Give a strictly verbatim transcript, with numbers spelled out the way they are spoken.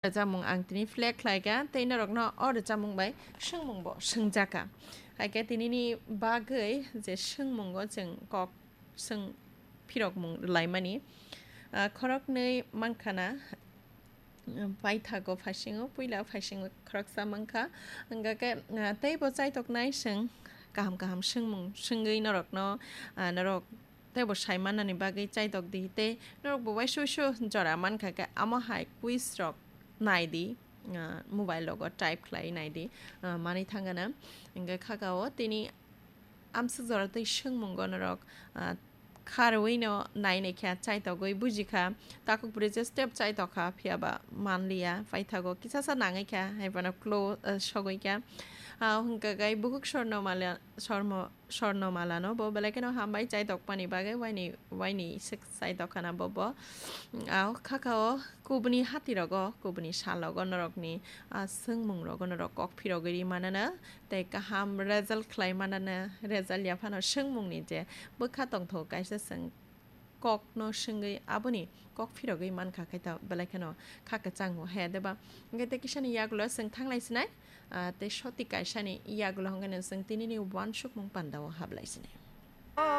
Rwchapmung ang tini flag khlaikha, tei norokno o rwchapmung bai swngmungbo swngjakha. Haikhe tinini bagwi je swngmungo chwng kok swng phirokmung rwlaimani, ah, khoroknwi mankhana, um, paithago phaisingo, puila phaisingo khoroksa mankha. Hwnkha khe, ah, teibo chaitoknai chwng kaham kaham swngmung swngwi norokno, ah, norok teibo sai mannani bagwi chaitok di, tei norokbo uaisuisu jora mankha khe, amo hai quiz rok nai di, ah, mobile rogo type khlai nai di, ah, manwi thangana. Hwnkhe khakao tini amswk jora tei swngmungo norok, ah, kharwi no nai nai kha, chaitogwi buji kha, takhuk bwrwi je step chaitok kha, phiya ba manliya, paithago kisasa nangwi kha, hai phano klo, ah, sogwi kha. Ah, hwnkha khe bukhuk sorno mala, sormo, sorno malano bo belai kheno hambai chaitokmani bagwi waini, waini swk chaitokkhana bo bo. Ah, khakao kubuni hatirogo, kubuni salogo norokni, ah, swngmungrogo norok kok phirogwi ri manana, tei kaham result khlai manana, result yaphano swngmungni je bwkha tongthogo kaisa chwng kokno swngwi aboni kok phirogwi mankha khe ta belai kheno kha kwchango he deba. Hwnkhe tei kisani yagulo chwng thanglai sinai, ah, tei soti kaisani yagulo hwnkhe no chwng tinini uansukmung pandao hablai sinai.